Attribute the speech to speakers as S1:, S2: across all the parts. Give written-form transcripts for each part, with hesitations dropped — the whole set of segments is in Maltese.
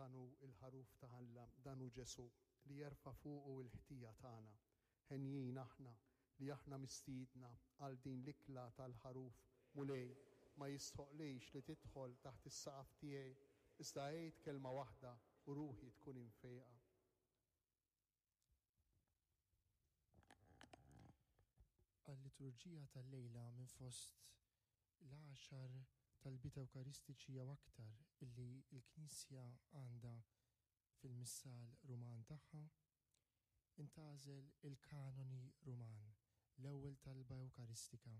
S1: Dan hu l-Ħaruf ta' Alla, dan hu Ġesù, li jerfa' fuqu l-ħtija tagħna. Henjin aħna li aħna mistiedna għal din l-ikla tal-Ħaruf. Mulej, ma jistħoqqlix li tidħol taħt is-saqaf tiegħi, iżda għid kelma waħda u ruħi tkun imfejqa.
S2: Għal-liturġija tal-lejla minn fost l-għaxar talbiet Ewkaristiċi jew aktar illi l-Knisja għandha fil-Missal Ruman tagħha, intgħażel il-Kanoni Ruman, l-ewwel talba Ewkaristika,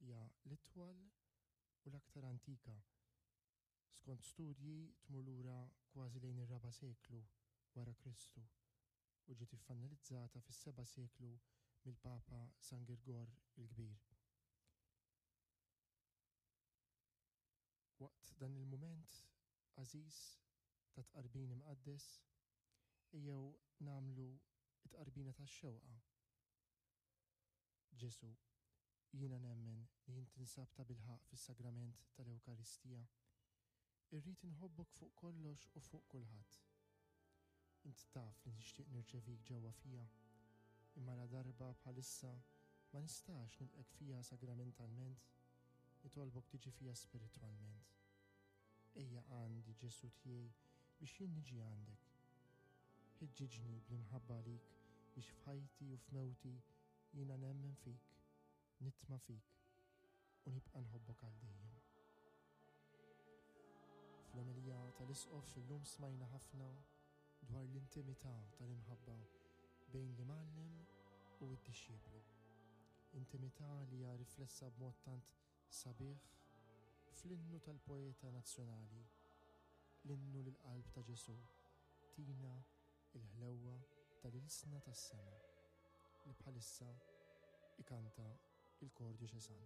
S2: li hija l-itwal u l-aktar antika Skont studji tmur lura kważi lejn ir-raba' seklu wara Kristu u ġiet iffanalizzata fis-seba' seklu mill-Papa San Girgor il-Kbir. Waqt dan il-mument għażiż ta' tqarbin imqaddes, ejjew nagħmlu t-tqarbina tax-xewqa Ġesù, jiena nemmen li int tinsab tabilħaqq fis-Sagrament tal-Ewkaristija. Irrid inħobbok fuq kollox u fuq kulħadd. Int taf li nixtieq nirċevik ġewwa fija, imma ladarba bħalissa ma nistax nilqgħek fija sagramentalment, nitolbok tiġi fija spiritwalment. Ejja għandi, Ġesù tiegħi, biex jien niġi għandek. Ħeġġiġni bl-imħabba għalik biex f'ħajti u f'mewti jiena nemmen fik, nitma' fik u nibqa' nħobbok għal dejjem. Fl-omelija tal-Isqof illum smajna ħafna dwar l-intimità tal-imħabba bejn l-Imgħallem u d-dixxiplu. Intimità li hija riflessa b'mod tant sabiħ fl-innu tal-poeta nazzjonali, l-innu lill-qalb ta' Ġesù, Tina l-ħlewwa tal-ilsna tas-sema, li bħalissa ikanta l-Kor Djoċesan.